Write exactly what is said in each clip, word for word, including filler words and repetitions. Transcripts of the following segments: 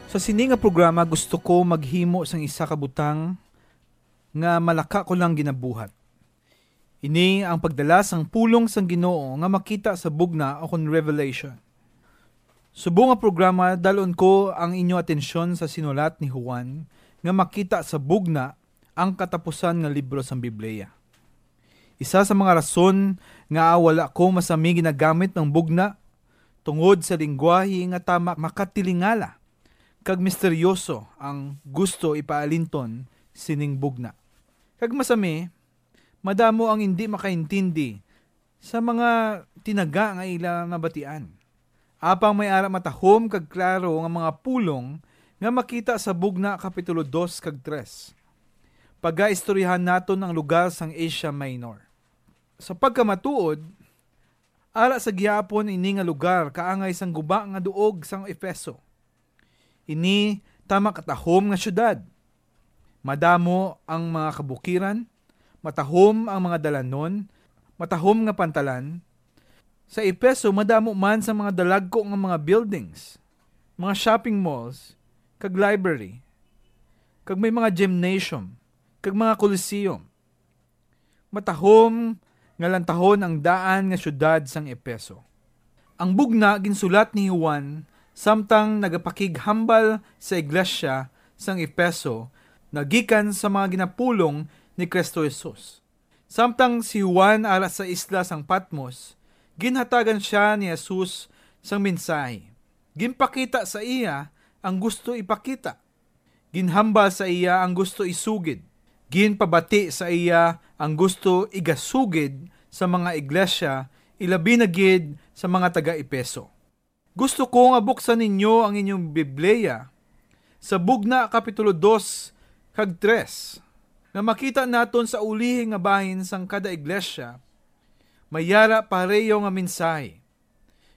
Sa sini nga programa, gusto ko maghimo sang isa ka butang nga malaka ko lang ginabuhat. Ini ang pagdala sang pulong sang Ginoo nga makita sa bugna o kon revelation. Subong nga programa, dalon ko ang inyo atensyon sa sinulat ni Juan nga makita sa bugna, ang katapusan nga libro sang Biblia. Isa sa mga rason nga wala ko masami ginagamit ang bugna tungod sa linggwahe nga tama makatilingala kag misteryoso ang gusto ipaalinton sining bugna. Kag masami, madamo ang hindi makaintindi sa mga tinaga nga ila mabatian. Apang may ara matahom kag klaro nga mga pulong nga makita sa Bugna Kapitulo dos kag tres. Pagaistoryahan naton ang lugar sang Asia Minor. Sa pagkamatuod, ara sa gihapon ini nga lugar kaangay sang guba nga duog sang Efeso. Ini tama katahom nga syudad. Madamo ang mga kabukiran, matahom ang mga dalanon, matahom nga pantalan. Sa Efeso, madamo man sa mga dalagko nga mga buildings, mga shopping malls, kag library, kag may mga gymnasium, kag mga coliseum. Matahom nga lantahon ang daan nga syudad sang Efeso. Ang bugna ginsulat ni Juan samtang nagapakighambal sa iglesia sang Efeso nga gikan sa mga ginapulong ni Cristo Jesus. Samtang si Juan ara sa isla sang Patmos, ginhatagan sia ni Jesus sang mensahe. Ginpakita sa iya ang gusto ipakita. Ginhambal sa iya ang gusto isugid. Ginpabati sa iya ang gusto igasugid sa mga iglesia, ilabi na gid sa mga taga-Efeso. Gusto ko nga buksan ninyo ang inyong Biblia sa Bugna Kapitulo dos kag tres, nga makita naton sa ulihi nga bahin sang kada iglesia, may yara pareho nga mensahe.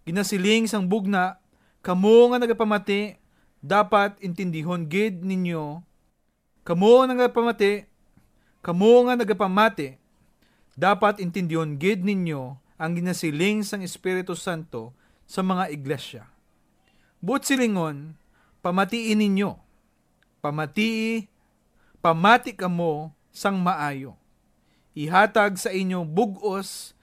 Ginasiling sang Bugna, "Kamo nga nagapamati, dapat intindihon gid ninyo. Kamo nga nagapamati, kamo nga nagapamati, dapat intindihon gid ninyo ang ginasiling sang Espiritu Santo sa mga iglesia. Buot silingon, pamatii ninyo. Pamatii, pamati kamo sang maayo. Ihatag sa inyo bug-os,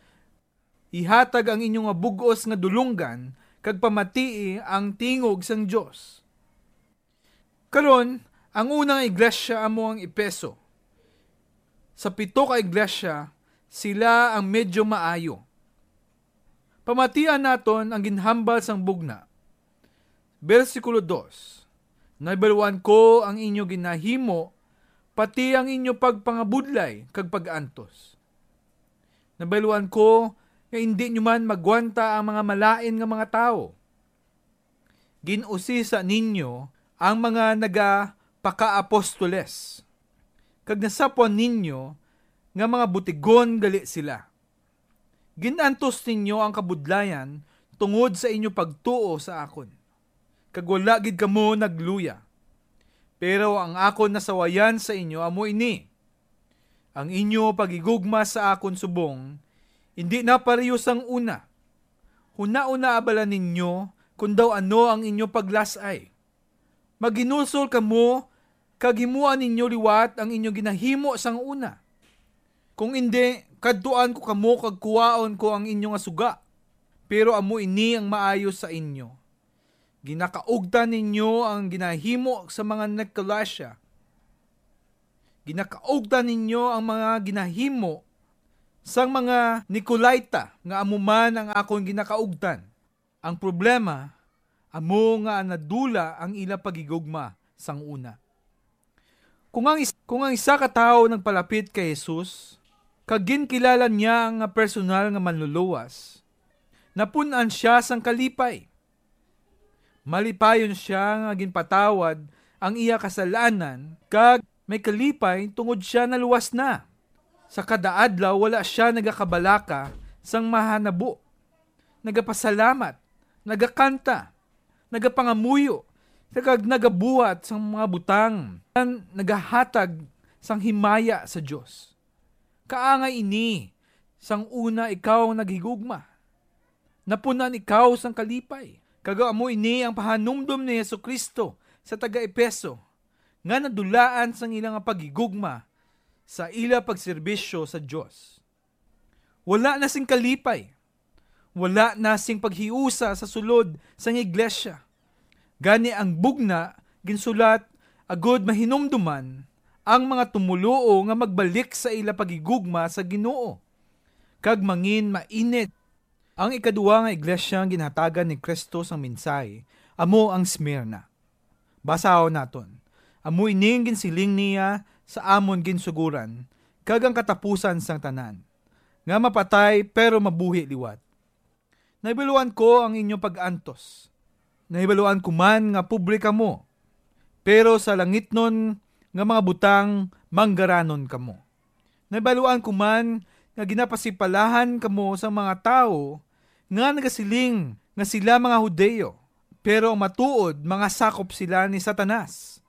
ihatag ang inyo nga bug-os nga dulonggan, kag pamatii ang tingog sang Dios." Karon, ang unang iglesia amo ang Efeso. Sa pito ka iglesia, sila ang medyo maayo. Pamatian naton ang ginhambal sang Bugna. Bersikulo dos, "Nahibaluan ko ang inyo ginahimo, pati ang inyo pagpangabudlay kag pag-antos. Nahibaluan ko nga indi nyo man magwanta ang mga malain nga mga tawo. Gin-usisa ninyo ang mga nagapakaapostoles, kag nasapwan ninyo nga mga butigon gali sila. Gin-antos ninyo ang kabudlayan tungod sa inyo pagtuo sa akon, kag wala gid kamo nagluya. Pero ang akon nasawayan sa inyo amo ini: ang inyo paghigugma sa akon subong indi na pareho sang una. Hunaon na abala ninyo kon daw ano ang inyo paglas-ay. Maghinulsol kamo kag himoa ninyo liwat ang inyo ginahimo sang una. Kung indi, kadtuan ko kamo kag kuwaon ko ang inyo nga suga. Pero amo ini ang maayo sa inyo: ginakaugtan ninyo ang ginahimo sa mga Nicolaita. Ginakaugtan ninyo ang mga ginahimo sang mga Nicolaita, nga amo man ang akon ginakaugtan. Ang problema, amo nga nadula ang ila paghigugma sang una." Kung ang is-, kung ang isa ka tawo nagpalapit kay Jesus, kag ginkilala niya nga personal nga manluluwas, napun-an sia sang kalipay. Malipayon sia nga ginpatawad ang iya kasalanan, kag may kalipay tungod sia naluwas na. Sa kada adlaw, wala sia nagakabalaka sang mahanabo. Nagapasalamat, nagakanta, nagapangamuyo, kag nagabuhat sang mga butang nga nagahatag sang himaya sa Dios. Kaangay ini sang una ikaw naghigugma. Napun-an ikaw sang kalipay. Kag amo ini ang pahanumdom ni Jesu-Cristo sa taga-Efeso nga nadulaan sang ila nga paghigugma sa ila pagserbisyo sa Dios. Wala na sing kalipay. Wala na sing paghiusa sa sulod sang iglesia. Gani ang bugna ginsulat agud mahinumduman ang mga tumoluo nga magbalik sa ila paghigugma sa Ginoo kag mangin mainit. Ang ikaduha nga iglesia nga ginhatagan ni Cristo sang mensahe amo ang Smyrna. Basahon naton. Amo ini ang ginsiling niya sa amon ginsugoran, kag ang katapusan sang tanan, nga mapatay pero mabuhi liwat. Nahibaluan ko ang inyo pag-antos. Nahibaluan ko man nga pobre kamo, pero sa langitnon nga mga butang manggaranon kamo. Nahibaluan ko man nga ginapasipalahan kamo sang mga tawo nga nagasiling nga sila mga Hudiyo, pero ang matuod mga sakop sila ni Satanas.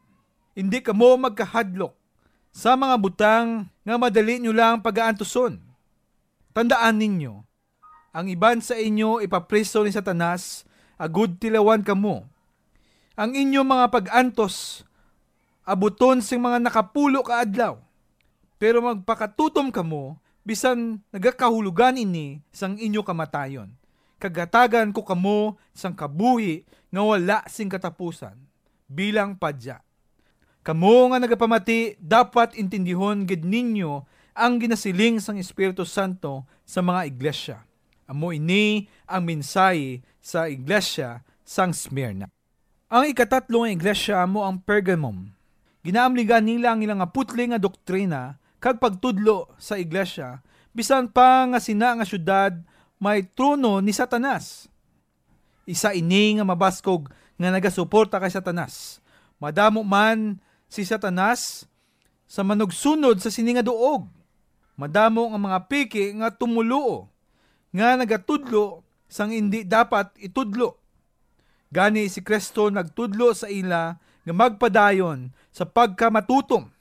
Indi kamo magkahadlok sa mga butang nga madali nyo lang pagaantuson. Tandaan ninyo, ang iban sa inyo ipapriso ni Satanas agud tilawan kamo. Ang inyo mga pag-antos abuton sing mga nakapulo ka adlaw, pero magpakatutom kamo bisan nagakahulogan ini sang inyo kamatayon, kag hatagan ko kamo sang kabuhi nga wala sing katapusan bilang padya. Kamo nga nagapamati, dapat intindihon gid ninyo ang ginasiling sang Espiritu Santo sa mga iglesia. Amo ini ang mensahe sa iglesia sang Smyrna. Ang ikatatlo nga iglesia amo ang Pergamum. Ginaamligan nila ang ila nga putli nga doktrina kag pagtudlo sa iglesia, bisan pa nga sina nga syudad may trono ni Satanas. Isa ini nga mabaskog nga nagasuporta kay Satanas. Madamo man si Satanas sa manugsunod sa sini nga duog. Madamo nga mga peke nga tumoluo nga nagatudlo sang indi dapat itudlo. Gani si Cristo nagtudlo sa ila nga magpadayon sa pagkamatutom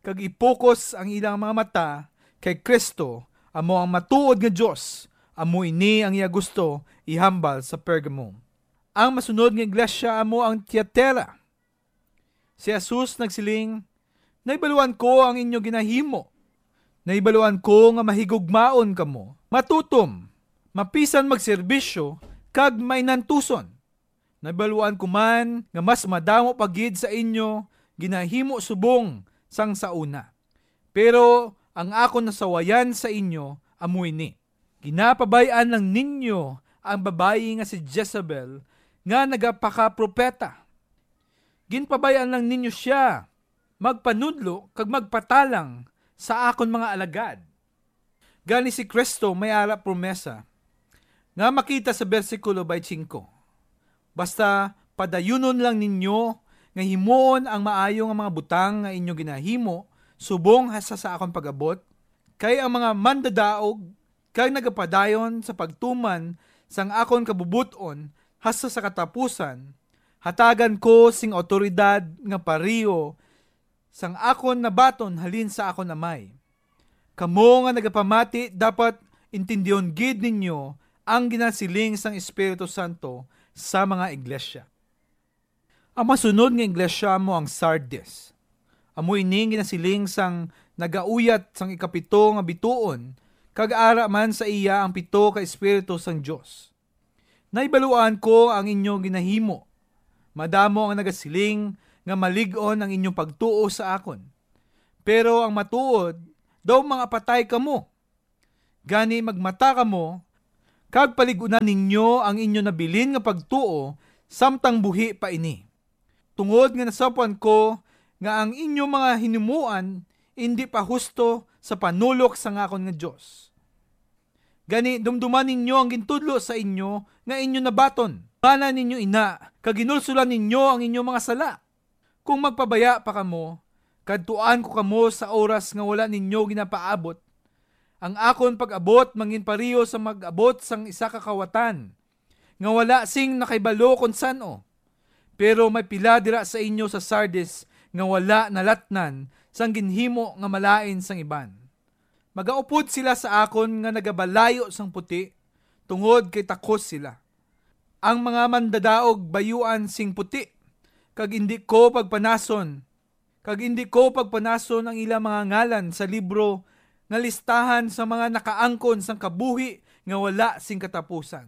kag ipukos ang ilang mga mata kay Cristo, amo ang matuod nga Dios. Amo ini ang iya gusto ihambal sa Pergamo. Ang masunod nga iglesia amo ang Tiatira. Si Jesus nagsiling, "Nahibaluan ko ang inyo ginahimo. Nahibaluan ko nga mahigugmaon kamo, matutom, mapisan magserbisyo, kag mainantuson. Nahibaluan ko man nga mas madamo pa gid sa inyo ginahimo subong sang sa una. Pero ang akon nasawayan sa inyo amo ini: ginapabay-an lang ninyo ang babayi nga si Jezebel nga nagapakapropeta. Ginpabay-an lang ninyo sia magpanudlo kag magpatalang sa akon mga alagad." Gani si Cristo may ara promesa nga makita sa bersikulo twenty-five. Basta padayunon lang ninyo nga himuon ang maayo nga mga butang nga inyo ginahimo subong hasta sa akon pag-abot, kay ang mga mandadaog kag nagapadayon sa pagtuman sang akon kabubot-on hasta sa katapusan, hatagan ko sing awtoridad nga pareho sang akon nabaton halin sa akon Amay. Kamo nga nagapamati, dapat intindihon gid ninyo ang ginasiling sang Espiritu Santo sa mga iglesia. Ang masunod nga iglesia amo ang Sardis. Amo ini ang ginasiling sang nagauyat sang ikapito nga bituon, kag ara man sa iya ang pito ka espiritu sang Dios. Nahibaluan ko ang inyo ginahimo. Madamo ang nagasiling nga malig-on ang inyong pagtuo sa akon. Pero ang matuod, daw mangapatay kamo. Gani magmata kamo, kag palig-unan ninyo ang inyo nabilin nga pagtuo samtang buhi pa ini. Tungod nga nasapwan ko nga ang inyo mga hinumoan indi pa husto sa panulok sang akon nga Dios. Gani, dumduma ninyo ang gintudlo sa inyo nga inyo nabaton. Bana ninyo ina, kag ginulsolan ninyo ang inyo mga sala. Kung magpabaya pa kamo, kadtuan ko kamo sa oras nga wala ninyo ginapaabot. Ang akon pag-abot mangin pareho sa mag-abot sang isa ka kawatan nga wala sing nakahibalo kon san-o. Pero may pila dira sa inyo sa Sardis nga wala nalatnan sang ginhimo nga malain sang iban. Magaupod sila sa akon nga nagabalayo sang puti, tungod kay takos sila. Ang mga mandadaog bayuan sing puti, kag indi ko pagpanason, kag indi ko pagpanason ang ila mga ngalan sa libro nga listahan sa mga nakaangkon sang kabuhi nga wala sing katapusan.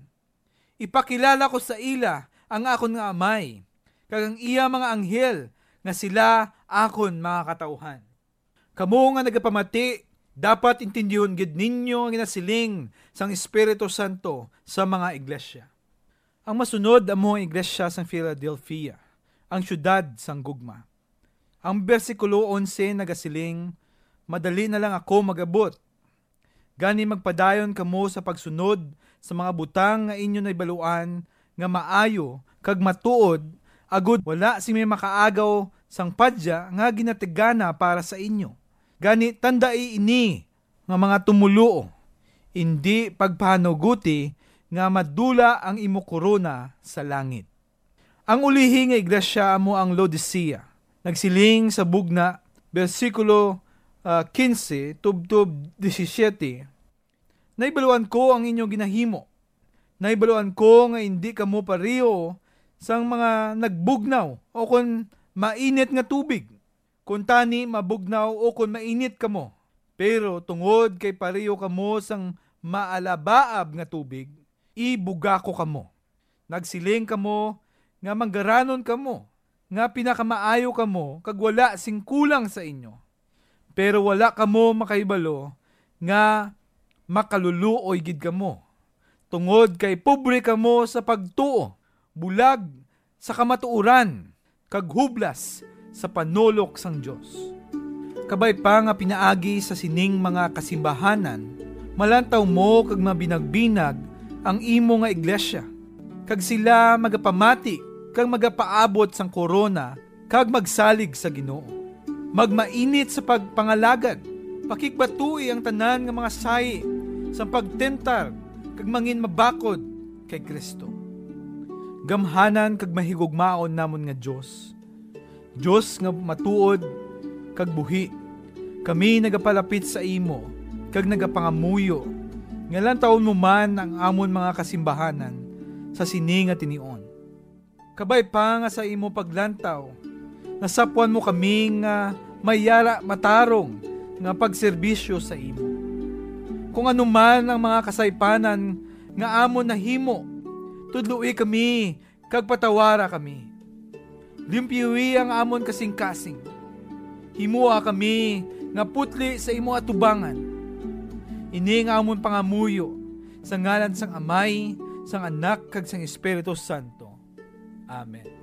Ipakilala ko sa ila ang akon nga Amay, kag ang iya mga anghel, nga sila akon mga katawuhan. Kamo nga nagapamati, dapat intindihon gid ninyo ang ginasiling sang Espiritu Santo sa mga iglesia. Ang masunod amo ang iglesia sang Philadelphia, ang siyudad sang gugma. Ang bersikulo onse nagasiling, "Madali na lang ako mag-abot. Gani magpadayon kamo sa pagsunod sa mga butang nga inyo nahibaluan nga maayo kag matuod, agod wala sing may makaagaw sang padya nga ginatigana para sa inyo. Gani tandai ini nga mga tumoluo, indi pagpahanuguti nga madula ang imo korona sa langit." Ang ulihi nga iglesia amo ang Laodicea. Nagsiling sa bugna, bersikulo, ah, kinse tubtob disisiete, "Nahibaluan ko ang inyo ginahimo. Nahibaluan ko nga indi kamo pareho sang mga nagbugnaw o kon mainit nga tubig. Kuntani, mabugnaw o kon mainit kamo. Pero tungod kay pareho kamo sang maalabaab nga tubig, ibuga ko kamo. Nagsiling kamo nga manggaranon kamo, nga pinakamaayo kamo, kag wala sing kulang sa inyo. Pero wala kamo makahibalo nga makaluluoy gid kamo, tungod kay pobre kamo sa pagtuo, bulag sa kamatuoran, kag hublas sa panolok sang Dios. Kabay pa nga pinaagi sa sining mga kasimbahanan, malantaw mo kag mabinagbinag ang imo nga iglesia, kag sila magapamati kag magapaabot sang korona kag magsalig sa Ginoo. Magmainit sa pagpangalagad, pakigbatui ang tanan nga mga sahi sang pagtentar kag mangin mabakod kay Cristo. Gamhanan kag mahigugmaon namon nga Dios, Dios nga matuod kag buhi, kami nagapalapit sa imo kag nagapangamuyo nga lantawon mo man ang amon mga kasimbahanan sa sini nga tinion. Kabay pa nga sa imo paglantaw, nasapwan mo kami nga may yara matarong nga pagserbisyo sa imo. Kung ano man ang mga kasaypanan nga amon nahimo, tudloi kami kag patawara kami. Limpyuhi ang amon kasingkasing. Himoa kami nga putli sa imo atubangan. Ini nga amon pangamuyo sa ngalan sang Amay, sang Anak, kag sang Espiritu Santo. Amen.